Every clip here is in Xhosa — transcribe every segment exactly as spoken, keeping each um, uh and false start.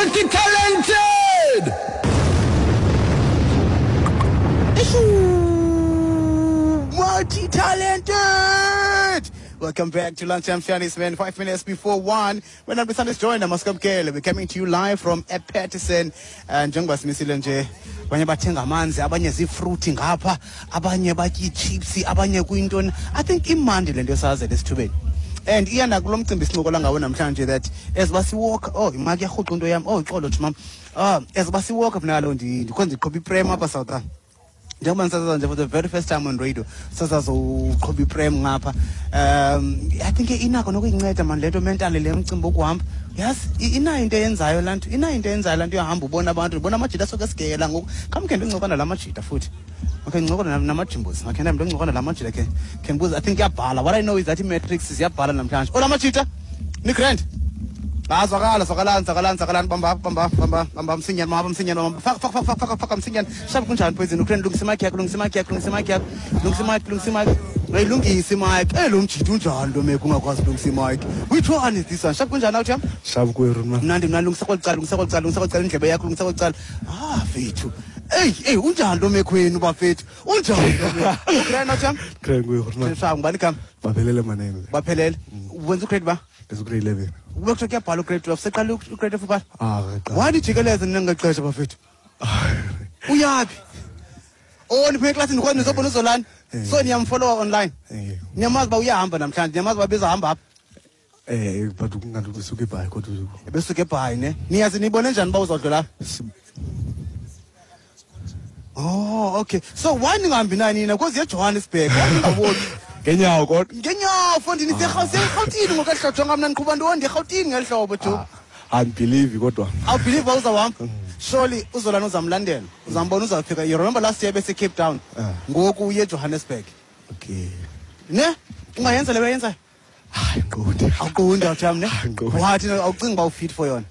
Multi-talented! Multi-talented! Welcome back to Lunchtime Shandies, man. Five minutes before one. When I'm Sunday joined, Maskamkele. We're coming to you live from Paterson. And njengoba simisile nje, abanye bathenga amanzi, abanye zii-fruit ngapha, abanye batya ii-chips, abanye kuyintoni. I think imandi le nto yosazela esithubeni. And iyanda kulo mcimbi sincokola ngawo namhlanje that as basiwalk, oh, imaki yarhuqa into yam, oh, ixolo jimam. Ah, as basiwalk mna kaloku ndikhonza ndiqhuba iprem apha South Africa. Njengoba ndisasaza nje for the very first time on radio, sasazoqhuba iprem ngapha. Um I think inako nokuyinceda man le nto mentally, le mcimbi wokuhamba. Yazi, inayo into eyenzayo laa nto, inayo into eyenzayo laa nto yohamba ubona abantu, ubona amajita asuke esigela ngoku. Khamkhe ndincokola nala majita futhi. Okay, ndincokola namajimbozi. Okay, ndincokola nala majita ke. Khe ndibuze, I think iyabhala. What I know is that i-matrix ziyabhala namhlanje. Ola majita, ni-grand. Ah, zwakala, zwakalani, zwakalani, zwakalani, bamba, bamba, bamba, bamba, msinyane, mama, msinyane, mama. Faka, faka, faka, faka, faka, msinyane. Shabu kunjani poison? Ukraine, lungisa mic yakho, lungisa mic yakho, lungisa mic yakho. Lungisa mic, lungisa mic. Hey, lungisa mic. Eh, lo mjita unjani lo meko ungakwazi lungisa mic? Which one is this one? Shabu kunjani awuthi yam? Shabu kweru man. Mnandi, mnandi, lungisa kweli cala, lungisa kweli cala, lungisa kweli cala, indlebe yakho, lungisa kweli cala. Ah, fethu. Hey, hey, unjani lo mekhwenu bafethu? Unjani lo mekho? Ukraine awuthi yam? Ukraine kweru man. Shabu ngubani igama? Baphelele manene. Baphelele. Wenza ugrade ba? Ndenza ugrade eleven. Ubekuthiwa kuyabhala ugrade twelve, seqala ugrade twelve ubhala? Ah, qala. Why nijikeleze nina ngexesha bafethu? Uyaphi? Oh, niphume eklasini kodwa nizobona uZolani. So niyamfollowa online. Eh. Niyamazi uba uyahamba namhlanje, niyamazi uba bezahamba apha. Eh, but kungathi usuke eBhayi kodwa Ebesuke eBhayi ne. Niyazi nibone njani uba uzodlula apha? Oh, okay. So why ningahambi naye nina? Because yeJohannesburg. Why ningaboni? Ngenyawo kodwa. Ngenyawo mfondini, iseRhawutini ngoku eli hlobo, mna ndiqhuba ntoni ndiRhawutini ngeli hlobo jo. Andibelieve kodwa. Awubelieve uba uzawuhamba? Surely uZolani uzamlandela. Uzambona uzawufika. You remember last year bese Cape Town. Ngoku uye eJohannesburg. Okay. Ne? Ungayenza le bayenzayo? Hayi, ngiqonde. Awuqondi awutham ne? Angiqondi. Wathi awucingi uba ufit for yona.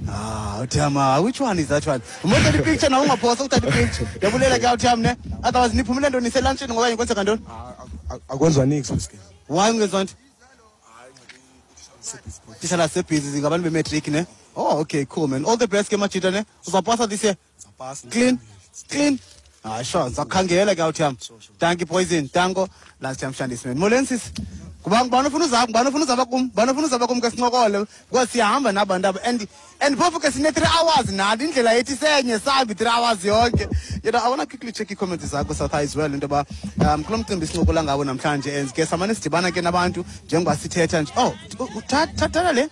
Ah, uthama, which one is that one? Umothatha ipicture nawe ungaphosa ukuthatha ipicture. Ndiyabulela ke awutham ne? Otherwise niphumile ntoni niselantshini ngoba kwenzeka ntoni? Akwenziwa niks bese. Why ungenziwa nto? Tishala sebhizi ngabantu bematric ne? Oh, okay, cool man. All the best ke majita ne? Uzawupasa this year? Uzawupasa. Clean? Clean? Ah, sure. Ndizakukhangela ke awutham. Thank you poison. Tango. Last time Shandis man. Molweni sisi. Kuba ngubani ofuna uzaba, ngubani ofuna uzaba kum, ngubani ofuna uzaba kum ke sincokole because siyahamba nabantu aba and and phofu ke sine three hours nathi indlela yethu isenye sahambi three hours yonke. You know, I want to quickly check ii-comments zakho South as well into yoba um kulo mcimbi sincokola ngawo namhlanje and ke samane sidibana ke nabantu njengoba sithetha nje. Oh, thatha le.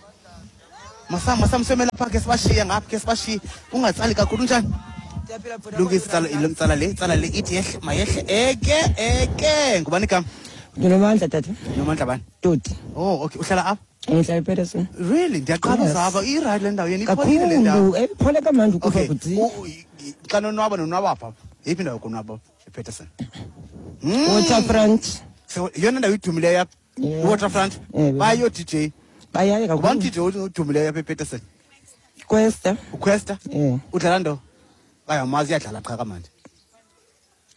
Masam masam semela pha ke sibashiye ngapha ke sibashiye. Ungatsali kakhulu njani? Lungisa tsala ilomtsala le, tsala le ithi yehle mayehle eke eke. Ngubani igama? Ndinomandla tata. Nomandla bani? Toti. Oh, okay. Uhlala apha? Ngihlala ePaterson. Really? Ndiyaqala uzava i-right le ndawo yena ipholile le ndawo. Kakhulu, iphole kamnandi ukufa Okay. kuthi. U- i- Xa nonwaba nonwaba pha. Yeyiphi indawo yokonwaba ePaterson? Waterfront. So yeyona ndawo idumileyo apha. Yeah. I-Waterfront. Yeah. Bayo D J. Bayaye kakhulu. Ngubani D J odumileyo apha ePaterson? Questa. Uquesta? Yeah. Udlala ndo? Ayamazi iyadlala qha kamandi.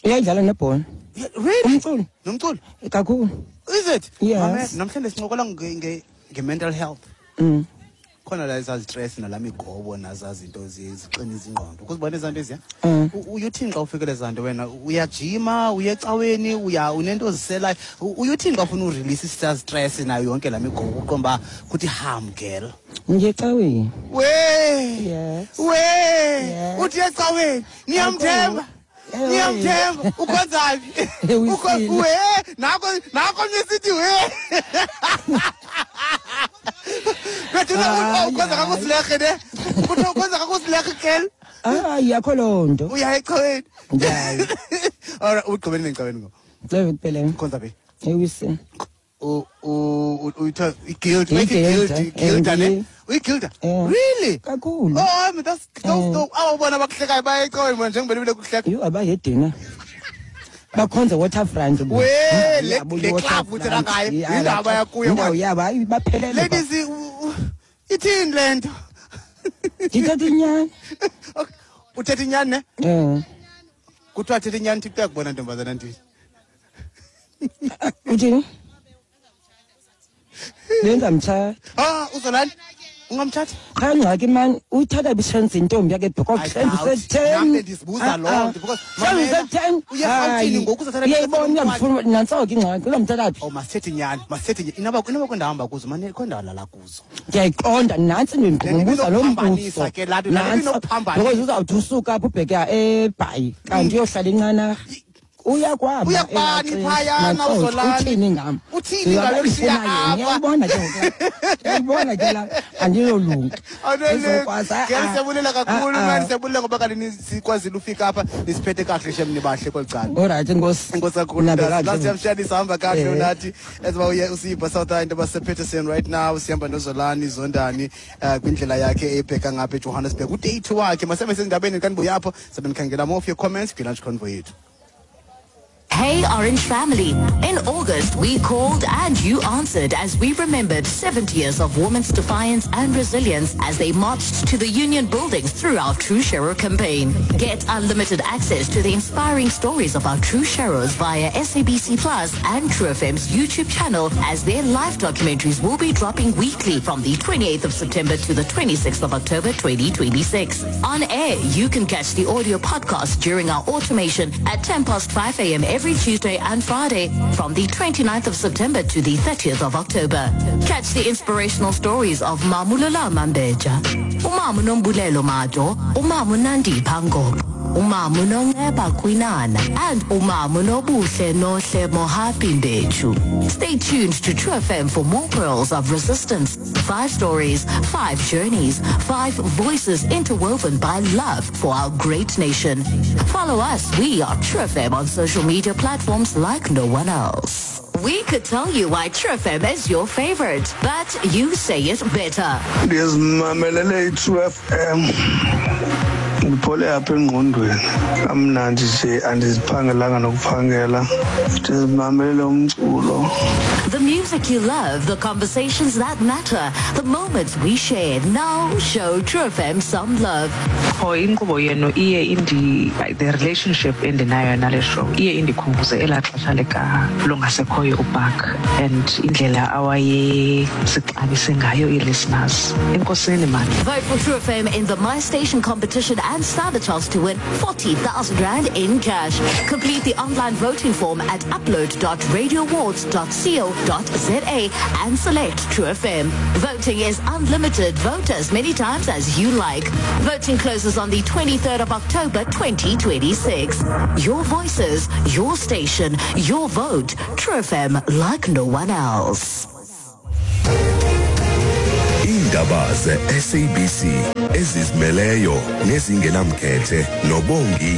Uyayidlala nebhola. Yeah, really? Umculo. Nomculo? Kakhulu. Is it? Yes. Mame, namhlanje sincokola nge nge nge-mental health. Mm. Khona la ezazi-stress nalaa migobo nazazi zinto zixinisa ingqondo. Ukuzibona ezaa nto eziya? Mm. U- Uyuthini xa ufikele ezaa nto wena? Uyajima, uya ecaweni, uya unento oziselayo. U- Uyuthini xa ufuna urelease isaa stress nayo yonke laa migobo uqonda uba kuthi ham girl? Ngiye ecaweni. We. Yes. We. Yes. Uthi ecaweni. Niyamthemba. Ewe. Niyamthemba. Ukhonza phi? Ewisile. Ukho we nako nako mnye we. Bethuna Hayi, ukhonza hayi. kakusilehe ne? Kuthiwa ukhonza kakusilehe girl. Hayi, akho loo nto. Uya ecaweni. Ndiyayo. Alright, ugqibele ecaweni ngoku. Cebe kuphela. Ukhonza phi? Ewisile. U u uyitha i-guild, bayithi I-guild, guild, guild ne? eh, Uyigilda? Eh. Really? Kakhulu. Oh, I mean, that's that's Eh. dope. Awubona abakuhlekayo baya ecaweni bona njengoba bebile kuhleka. Yho, abayedina. Bakhonza Waterfront. We, le Yabo, le club i-Waterfront. uthela ngayo. Yeah, Indaba yakuyo. Indawo yabo hayi baphelele. Ladies, u- u- ithini le nto? Ndithetha inyani. Okay, uthetha inyani ne? Eh. Kuthiwa thetha inyani Thixo uyakubona ntombazana ndini. Uthini? Benza mthatha. Ah, uZolani? Ungamthatha? Qha ingxaki mani uyithatha bishenze intombi yakhe because I mhlawumbi doubt. use-ten. Nam bendizibuza loo nto because mamela, use-ten. uye eRhawutini ngoku uzathatha Uyayibona umntwana. uyamfuna nantso ke ingxaki uzamthatha phi? Oh, masithethe inyani, masithethe inyani. Inoba inoba kwindawo hamba kuzo, mane kwindawo lala kuzo. Ndiyayiqonda nantsi into ndimbuza lo Ibinokuphambanisa mbuzo. ke laa nto, laa nto Nantso, ibinokuphambanisa. because uzawuthi usuka apho ubheke eBhayi kanti uyohlala inqanarha. Uya kwaba Uya kubani phayana, Nantso, uZolani? Uthini ngam? Uthini ngalo kushiya apha? Ngiyayibona ke ngoku. Ngiyayibona ke la andiyolunga. Ndizokwazi, ah, Ngeke siyabulela kakhulu ah, ah. man, siyabulela ngoba kanti sikwazile ufika apha nisiphethe kahle shem nibahle kweli cala. Alright, enkosi. Enkosi kakhulu. Nabe kakuhle. Last siyamshaya sihamba kahle Eh. unathi as uba uye usipha South into basePeterson right now sihamba noZolani Zondani eh, kwindlela yakhe ebheka ngapha eJohannesburg. Uday two wakhe masebe sezindabeni kanti buya apho sabe nikhangela more of your comments kwi-lunch convo yethu. Hey Orange family. In August, we called and you answered as we remembered seventy years of women's defiance and resilience as they marched to the union buildings through our True Sharer campaign. Get unlimited access to the inspiring stories of our True Sharers via S A B C Plus and True F M's YouTube channel, as their live documentaries will be dropping weekly from the twenty-eighth of September to the twenty-sixth of October twenty twenty-six. On air, you can catch the audio podcast during our automation at ten past five a m every Tuesday and Friday from the 29th of September to the thirtieth of October. Catch the inspirational stories of Mamulula Mambeja, Umamu Nombulelo Majo, Umamu Nandi Pango, Umamu Nonceba Kwinana, and Umamu Nobuhle Nohle Mohapi Mbechu. Stay tuned to True F M for more pearls of resistance. Five stories, five journeys, five voices interwoven by love for our great nation. Follow us. We are True F M on social media platforms like no one else. We could tell you why True F M is your favorite, but you say it better. Ndizimamelele i-True F M, ndiphole apha engqondweni kamnandi nje, andiziphangelanga nokuphangela, ndizimamelele umculo. The music you love, the conversations that matter, the moments we share. Now show True F M some love. Qho inkqubo yenu iye indi the relationship endinayo nale show iye indikhumbuze elaa xesha lika longasekhoyo uBark and indlela awayesixabise ngayo ii-listeners. Enkosini mani. Vote for True F M in the My Station competition and stand a chance to win forty thousand rand in cash. Complete the online voting form at upload dot radioawards dot co dot za and select True F M. Voting is unlimited. Vote as many times as you like. Voting closes on the twenty-third of October twenty twenty-six. Your voices, your station, your vote. True F M like no one else. Iindaba ze-S A B C ezizimeleyo nezingenamkhethe noBongi.